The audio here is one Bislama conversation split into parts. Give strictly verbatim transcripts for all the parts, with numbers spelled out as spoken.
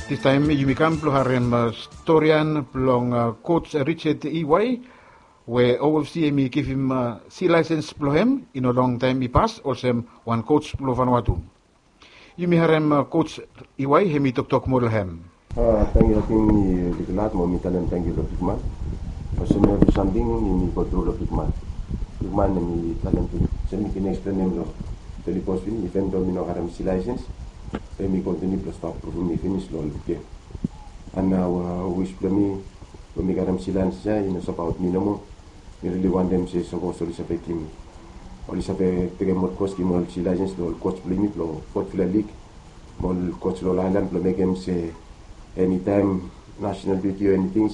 Distaem yumi kam blong harem storian blong koj Richard Iwai, we OFC hem i givim si laesens blong hem i no long taem i pas olsem wan koj blong Vanuatu. Yumi harem koj Iwai hem i toktok moa long hem. Tangkiu, ating mi oli glad mo mi talem tangkiu long bigman. Olsem evri samting yumi go tru long bigman. Bigman hem i talem tu, olsem mi bin eksplenem long telipos pinis, iven do mi no harem si laesens, be mi kontiniu blong stap pruvum mi finis long ol gem. An nao wis blong mi, blong mi harem si laesens ya i no se abaot mi nomo. Mi rili wantem se sapos oli save givim, oli save tekem ol koj, givim ol si laesens long ol koj blong yumi blong fotfala lig, mo ol koj long ol aelan, blong mekem se enitaem national duty o eniting,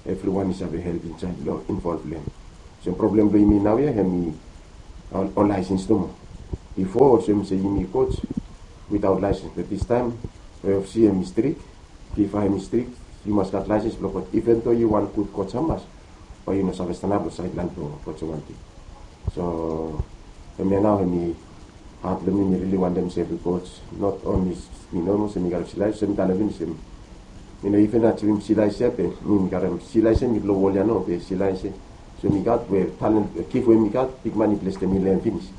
evriwan i save help insaed long involv long hem. Olsem problem blong yumi naoia hem i ol, ol laesens nomo. Bifo olsem se yumi koj witaot laesens, be distaem OFC hem i strik, FIFA hem i strik, yu mas gat laesens blong koj. Iven do yu wan gud koj hamas, bae yu no save stanap long saedlaen blong koj wan ting. So hemia nao hem i hat blong mi, mi rili wantem se evri koj, not only mi nomo, se mi gat si laesens, se mi talem finis, se mi no iven ajivim si laesens ya, be mi, mi gat si laesens mi blong wol ya nao, be si laesens, so mi gat we talent, gif we mi gat, bigman i blesem mi long hem finis.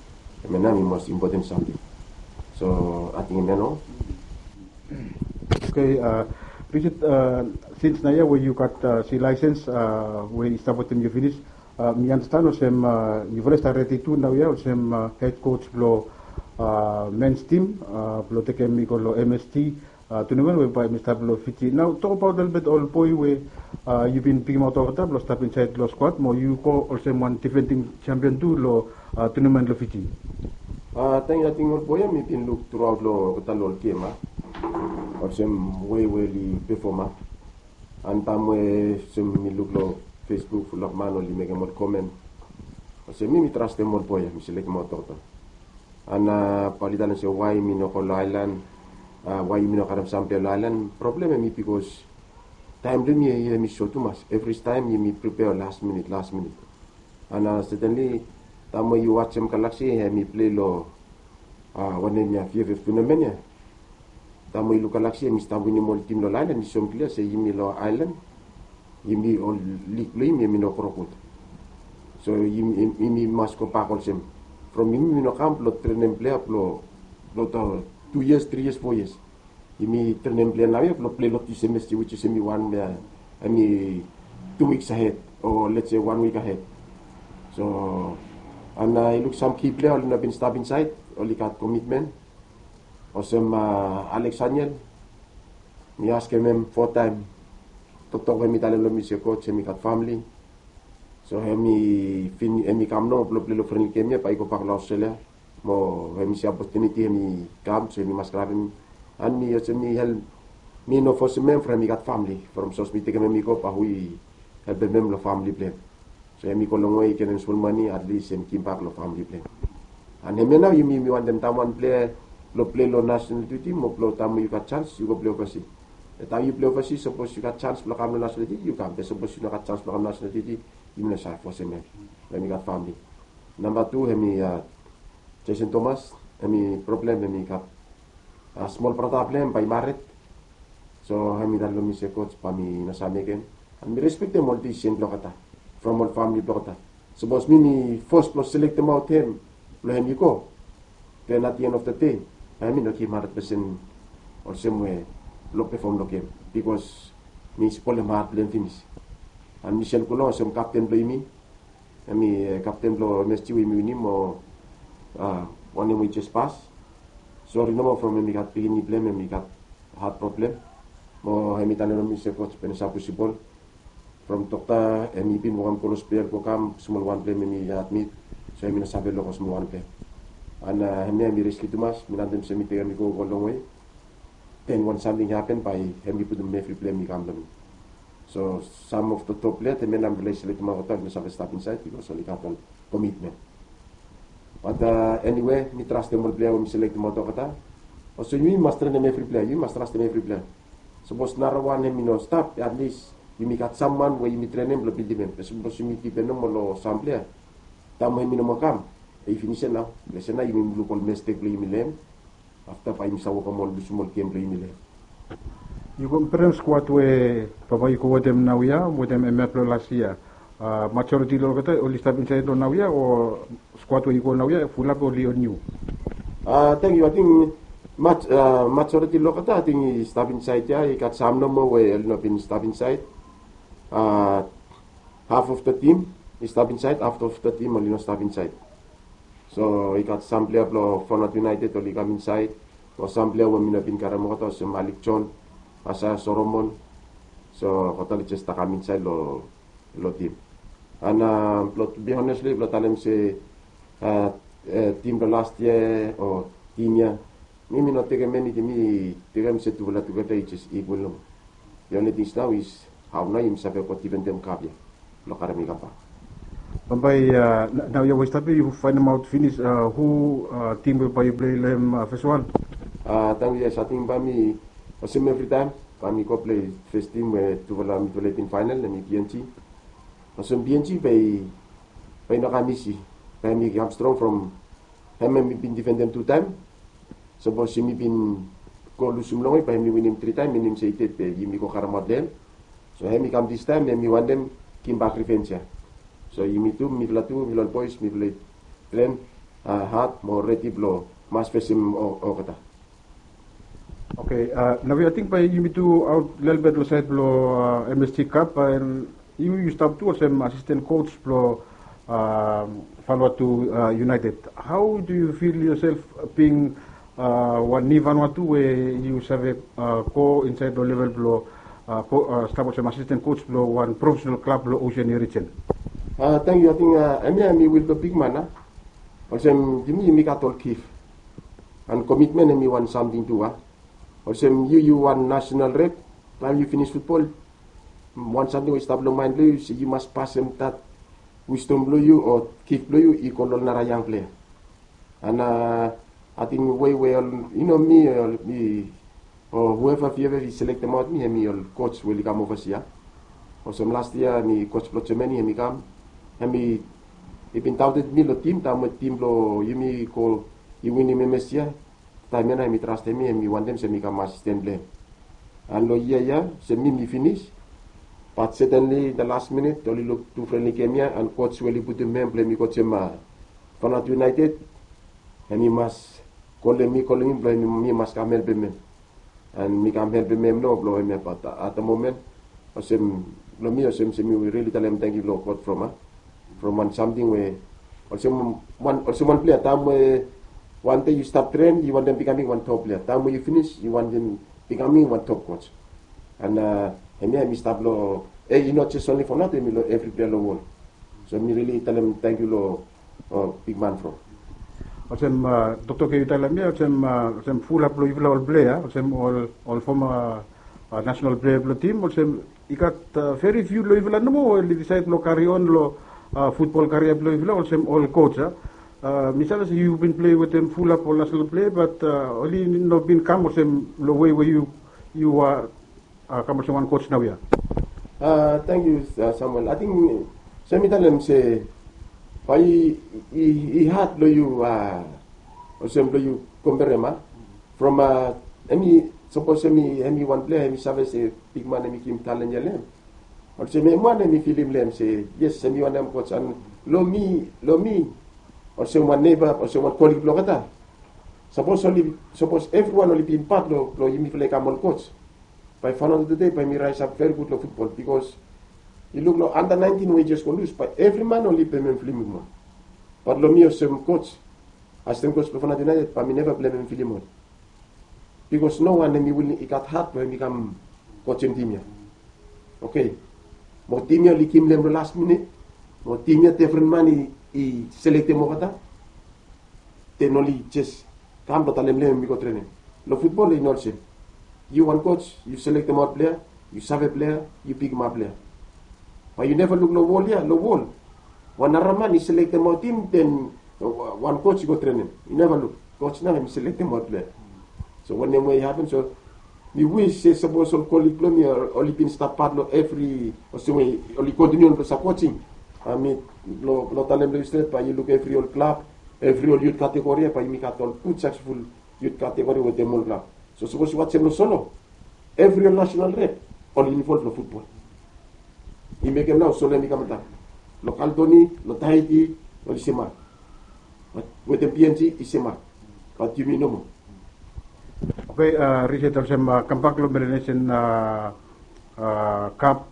Hemia nao hem i mos impoten samting. So ating hemia nao. Oke, Richard, sins naoia we yu gat si laesens we i stap wetem yu finis, mi anastan olsem yufala i stap redi tu naoia olsem hed koj blong mens tim blong tekem i go long MST tunamen we bae hem i stap long Fiji. Nao tokbaot lelebet ol boe we yu bin pikimaot olgeta blong stap insaed long skuad mo yu go olsem wan difending sempion tu long tunamen long Fiji. Tangkiu, ating ol boe ya mi bin luk truaot long olgeta long ol gem, a, olsem wei we oli pefom, a. An taem we olsem mi luk long Facebook, fulap man oli mekem ol komen. Olsem mi, mi trastem ol boe ya, mi selektem olgeta. An bae oli talem se wae mi no go long aelan, wae yumi no karem sampela long aelan. Problem hem i bikos taem blong yumi hem i sot tumas. Evri taem yumi pripea las minit, las minit. An setenli taem we yu wajem Galaxy hem i plei long wanem ya, VFF tunamen ya. Taem we yu luk Galaxy hem i stap winim ol tim long aelan, i soem klia se yumi long aelan, yumi ol lig blong yumi hem i no gro gud. So yumi, yumi mas gobak olsem from yumi, yumi no kam blong trenem plea blong, blong tu yias, tri yias, fo yias. Yumi trenem plea naoia blong plei long dis semesta, which is hem i wan, hem i tu wiks ahed o let's say wan wik ahed. So an yu luk sam ki plea oli no bin stap insaed, oli gat komitmen. Olsem Alex Haniel, mi askem hem fo taem. Toktok we hem i talem long mi se koj, hem i gat famili. So hem i fin, hem i kam nao blong plei long frenli gem ya, bae i gobak long Australia. Mo hem i si opotuniti hem i kam, so hem i mas grabem. An mi olsem mi help, mi no fosem hem from hem i gat famili. From sapos mi tekem hem i go, bae hu i helpem hem long famili blong hem? So hem i go longwe, i genem smol mane, atlis hem i givim bak long famili blong hem. An hemia nao yumi, yumi wantem taem wan plea blong plei long national duty mo blong taem we yu gat janis yu go plei ovasi. Be taem yu plei ovasi, sapos yu gat janis blong kam long national duty yu kam, be sapos yu no gat janis blong kam long national duty, yumi no save fosem hem. Hem i gat famili. Namba tu hem i Jason Thomas, hem i problem, hem i gat smol brata blong hem bae i mared. So hem i talem long mi se koj, bae mi no save mekem. An mi respektem ol disisen blong olgeta, from ol famili blong olgeta. Sapos mi, mi fos blong selektem aot hem blong hem i go, then at the end of the day bae hem i no givim handred pesen olsem we blong pefom long gem, bikos mi spolem hat blong hem finis. An Michel Coulon olsem kapten blong yumi, hem i kapten blong MST we yumi winim, mo wanem we i jes pas. Sori nomo from hem i gat pikinini blong hem, hem i gat hat problem. Mo hem i talem long mi se koj, bae i no save pusum bol. From dokta hem i bin wokem go long hospital go kam, smol wan blong hem hem i admit. So hem i no save luk ol smol wan blong hem. An hemia hem i riski tumas, mi no wantem se mi tekem hem i go, go longwe. Then wan samting i hapen, bae hem i putum evri blame i kam long mi. So some of the top player, hemia nao mifala i selektem olgeta, oli no save stap insaed bikos oli gat ol komitmen. But anyway, mi trastem ol player we mi selektem olgeta. Olsem yumi mas trenem evri player, yumi mas trastem evri player. Sapos narawan hem i no stap, at least yumi gat samwan we yumi trenem blong bildim hem. Be sapos yumi dipend nomo long sam player, taem we hem i no moa kam, i finis ya nao. Olsem nao yumi luk ol mistek blong yumi long hem. Afta bae yumi save wokem ol, lusum ol gem blong yumi long hem. Yu komperem skuad we bambae yu go wetem naoia wetem hemia blong las yia. Majoriti long olgeta oli stap insaed long naoia o skuad we yu go naoia fulap oli on yu? Teng yu, ating majoriti long olgeta ating i stap insaed ya, i gat sam nomo we oli no bin stap insaed. Haf of da tim i stap insaed, haf of da tim oli no stap insaed. So i gat sam plea blong Fanaut United oli kam insaed, o sam plea we mi no bin karem olgeta olsem Malik John, Asaia Solomon. So olgeta oli jes stap kam insaed long tim. An blong to bi honestli blong talem se tim blong last yia o tim ya, mi mi no tekem eniting, mi tekem se tufala tugeta i jes ikwal nomo. The only things now is hao nao yumi save go difendem kap ya blong karem i kambak. Bambae naoia we i stap ya yu faenemaot finis hu tim we bae yu plei long hem fes wan? Tang yes, ating bae mi olsem evritaem bae mi go plei fes tim we tufala mitufala i bin faenel, hemi B N G. Olsem B N G bae i no kam isi, bae hemi kam strong from hem hemi bin difendem tu taem. Sapos yumi bin go lusum longwe bae hemi winim tri taem, minim se i ded be yumi go karemaot long hem. So hemi kam distaem, hemi wantem givim bak revenge ya. So yumi tu, mifala tu, mifala ol boes mifala i tren had mo redi blong mas fesem olgeta. Oke, naoia ating bae yumi tu aot lelebet long saed blong M S G Cup, an yu yu stap tu olsem asisten kos blong Vanuatu United. Hao do yu fil yosef bing wan niu Vanuatu we yu save go insaed long level blong stap olsem asisten kos blong wan profesenal klab long Oseania rijen? Tang yu, ating hemia hemi wil blong bigman a. Olsem yumi yumi gat ol gif an komitmen hemi wan samting tu a. Olsem yu yu wan nasenal rep, taem yu finis futbol, wan samting we i stap long maen blong yu se yu mas pasem dat wisdom blong yu o gif blong yu i go long ol nara yang plea. An ating wei we ol, yu no, mi ol mi o hueva fieva i selektem aot mi, hemi ol kos we oli kam ovasia. Olsem last yia hemi kos blong Jamani hemi kam, hemi i bin daoted mi long tim taem we tim blong yumi go i winim M S G ya. Taem ya nao hemi trastem mi, hemi wantem se mi kam asisten blong hem. An long yia ya olsem mi mi finis. Bat setenli in da las minit oli luk tu frenli gem ya an kos we oli putum hem blong hemi kosem Fanaut United, hemi mas kolem mi, kolem mi blong hemi mi mas kam helpem hem. An mi kam helpem hem nao blong hemia, bat at da momen olsem blong mi olsem se mi rili talem tangkiu long God from a from wan samting we olsem wan olsem wan plea taem we wan dei yu stap tren yu wantem bikaming wan top plea, taem we yu finis yu wantem bikaming wan top kos. An hemia hemi stap long, e i no jes onli Fanaut, hemi long evri plea long wol. So mi rili talem tangkiu long bigman from. Olsem dokta, oke, yu talem ya olsem olsem fulap long yufala ol plea olsem ol ol foma nasenal plea blong tim olsem i gat veri fiu long yufala nomo we oli disaed blong kari on long futbol karia blong yufala olsem ol kos a. Mi save se yu bin plei wetem fulap ol nasenal plea bat oli no bin kam olsem long wei we yu yu a kam olsem wan kos naoia. Tangkiu Samuel. Ating se mi talem se bae i had long yu olsem blong yu komperem a from hemi sapos hemi wan plea hemi save se bigman hemi givim talen ya long hem. Olsem hem wan hemi filim long hem se yes hemi wantem kos an long mi long mi olsem wan neba olsem wan kolig blong olgeta. Sapos oli sapos evriwan oli bin pat long long yumifala i kam ol kos, bae Fanaut tude bae mi raesap veri gud long futbol bikos yu luk long anda naentin we i jes go lus bae evri man oli pemem filim mi. Bat long mi olsem kos, asisten kos blong Fanaut United bae mi neva blemem filim ol. Bikos no wan hemi willing i gat hat blong hemi kam kosem tim ya. Oke. Mo tim ya oli givim long hem long las minit. Mo tim ya defren man i selektem olgeta. Den oli jes kam blong talem long hem hemi go trenem. Long futbol i no olsem. Yu wan kos yu selektem aot plea, yu save plea, yu pikimap plea. Bae yu neva luk long wol ya long wol wan nara man i selektem aot tim den wan kos i go trenem. Yu neva luk kos nao hemi selektem aot plea. So wanem we i hapen so mi wis se sapos ol kolig blong mi oli bin stap pat long evri olsem we oli kontiniu long sapoting mi long talem long yu stret bae yu luk evri ol klab, evri ol yut kategori ya bae yumi gat ol gud saksesful yut kategori wetem ol klab. So sapos yu wajem long solo Evri ol national rep oli involv long futbol. I mekem nao Sole hem i kam antap. Long Kaledoni, long Taiti, oli semak. Bat wetem P N G i semak. Bat yumi nomo. Oke, Richard, olsem kambak long Melanesian Cup,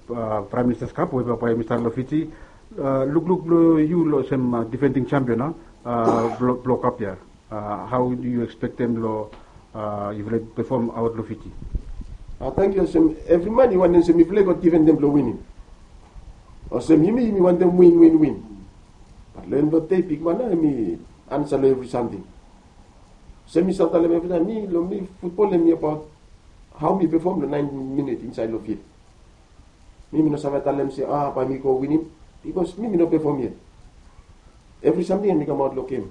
Prime Minister's Cup we bae i stap long Fiji. Lukluk blong yu olsem defending champion blong kap ya, hao yu ekspektem long yufala i pefom aot long Fiji? Tangkiu. Olsem evri man i wantem se mifala i go defendem blong winim. Olsem yumi yumi wantem win win win. Bat long en blong dei bigman nao hem i ansa long evri samting. Olsem mi save talem evritaem, mi long mi futbol hem i abaot hao mi pefom long naenti minit insaed long fil. Mi mi no save talem se a bae mi go winim, bikos mi mi no pefom yet. Evri samting hem i kamaot long gem.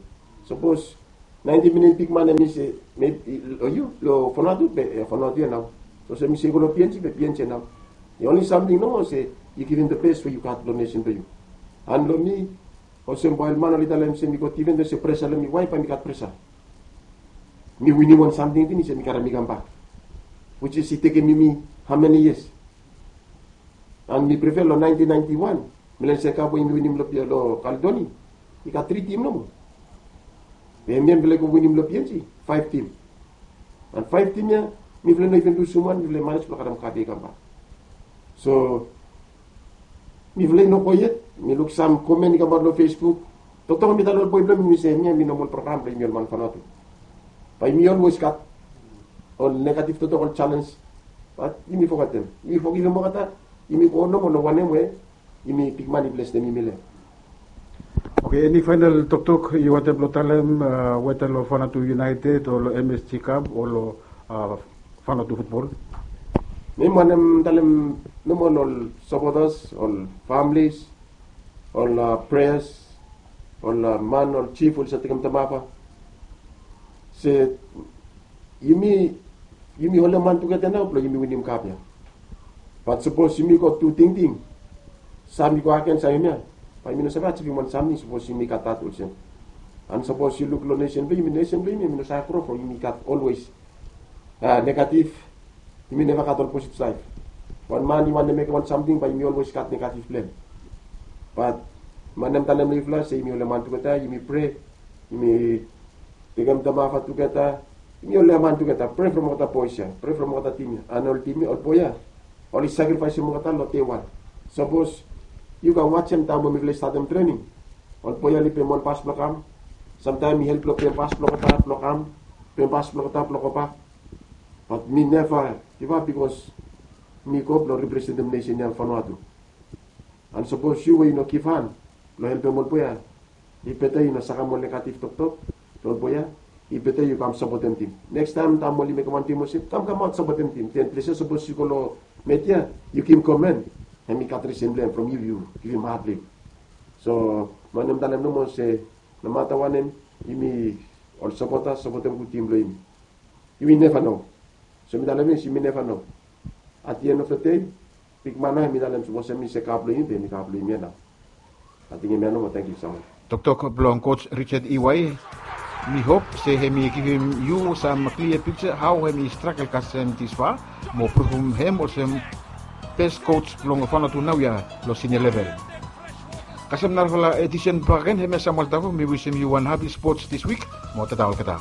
Sapos naenti minit bigman hem i se, long yu long Vanuatu be Vanuatu ya nao. Sapos hem i se go long P N G be P N G ya nao. The only samting nomo se yu givim the best we yu gat long nesen blong yu. An long mi, olsem bae ol man oli talem se mi go defend, se presa long mi, wae bae mi gat presa? Mi winim wan samting finis ya mi karem i kambak, which is i tekem yumi how many years? An mi prefer long naentin naenti wan, Melanesian Cup we yumi winim long Kaledoni, i gat tri tim nomo. Be hemia mifala i go winim long P N G, faef tim. An faef tim ya mifala i no even lusum wan, mifala i manej blong karem kap ya i kambak. So mifala i no go yet. Mi luk sam komen i kamaot long Facebook. Toktok mi talem ol boe blong mi, mi se hemia hemi nomal program blong yumi ol man Vanuatu. Bae yumi olwes gat ol negativ toktok, ol jalens. Bat yumi fogetem, yumi fogivim olgeta. Yumi go nomo long wanem we yumi bigman i blesem yumi long hem. Oke, eni faenal toktok yu wantem blong talem, weta long Vanuatu United o long M S G Cup o long Vanuatu futbol? Mi wantem talem nomo long ol sapotas, ol familis, ol preas, ol man, ol jif oli save tekem tamafa, se yumi, yumi holem han tugeta nao blong yumi winim kap ya. Bat sapos yumi go tu tingting, sam i go agen sam hemia, bae yumi no save ajivim wan samting sapos yumi gat dat olsem. An sapos yu luk long nesen blong yumi, nesen blong yumi hemi no save gro from yumi gat olwes negativ. Yumi neva gat ol positiv saed. Wan man i wantem mekem wan samting bae yumi olwes gat negativ blong hem. Bat mi wantem talem long yufala se yumi holem han tugeta, yumi prea, yumi tekem tamafa tugeta, yumi holem han tugeta, prea from olgeta boes ya, prea from olgeta tim ya. An ol tim ya, ol boe ya oli sakrifaesem olgeta long dei wan. Sapos yu go wajem taem we mifala i statem trening, ol boe ya oli pem ol bas blong kam. Samtaem i help long pem bas blong olgeta blong kam, pem bas blong olgeta blong gobak. Bat mi neva givap bikos mi go blong representem nesen ya Vanuatu. An sapos yu we yu no givhan blong helpem ol boe ya, i beta yu no sakem ol negativ toktok long ol boe ya. I beta yu kam sapotem tim. Nekstaem taem oli mekem wan tim olsem, kam kamaot sapotem tim. Den ples ya sapos yu go long media yu givim komen, hemi gat risen blong hem from yu, yu givim hat blong yu. So mi wantem talem nomo se nomata wanem, yumi ol sapota sapotem gud tim blong yumi. Yumi neva no. So mi talem finis, yumi neva no. At the end of the day, bigman nao hemi talem sapos hemi se kap blong yumi be hemi kap blong yumi ya nao. Ating hemia nomo, tangkiu so much. Toktok blong coach Richard Iwai. Mi hop se hemi givim yu sam klia piksa hao hemi stragel kasem disfala mo pruvum hem olsem bes coach blong Vanuatu naoia long sinia level. Kasem narafala edisen bakegen, hemia Samuel Tavo, mi wisim yu wan hapi spots dis wik mo tata olgeta.